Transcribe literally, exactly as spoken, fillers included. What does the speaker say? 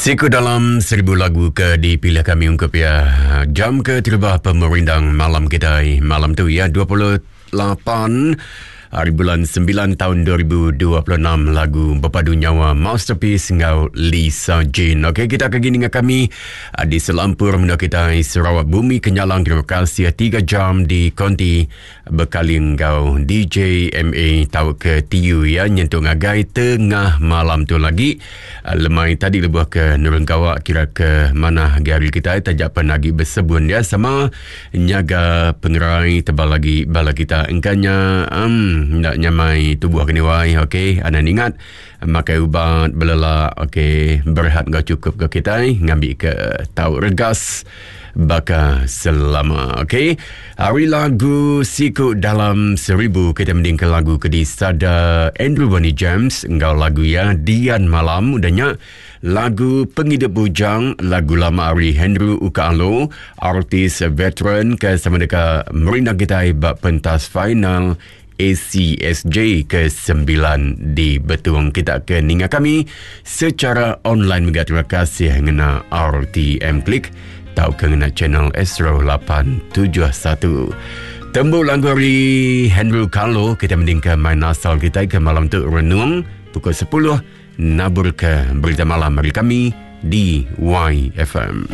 Siku dalam seribu lagu ke dipilih kami ungkup ya. Jam ke terubah pemerindang malam kita malam tu ya, dua puluh lapan hari bulan sembilan tahun dua ribu dua puluh enam, lagu Berpadu Nyawa Masterpiece ngau Lisa Jane. Okey, kita akan gini dengan kami di selampur menua kita Sarawak Bumi Kenyalang. Terima kasih tiga jam di konti bekaling ngau D J M A tau ke T U ya, nyentuh ngagai tengah malam tu lagi. Lemai tadi lebuh ke nurun gawak kira ke mana gari kita tajak penagi bersebun ya, sama nyaga pengerai tebal lagi bala kita engkanya um, nak nyamai tubuh kini wai. Okey, anda ingat makai ubat belelak, okey, berehat ngau cukup ke kita ngambil ke tau regas baka selama. Okey, hari lagu Siku Dalam Seribu kita mending ke lagu ke disada Andrew Bonnie James ngau lagu ya Dian Malam, udahnya lagu Penghidup Bujang, lagu lama ari Henry Ukaalo, artis veteran ke sama dekat merindang kita bab pentas final A C S J ke sembilan di Betung. Kita ke ninga kami secara online. Juga terima kasih ngena R T M Klik tau ke ngena channel Astro lapan tujuh satu. Tembuk lagu ari Henry Carlo kita mendingka main asal kita ke malam tu renung pukul sepuluh nabur ke berita malam hari kami di Y F M.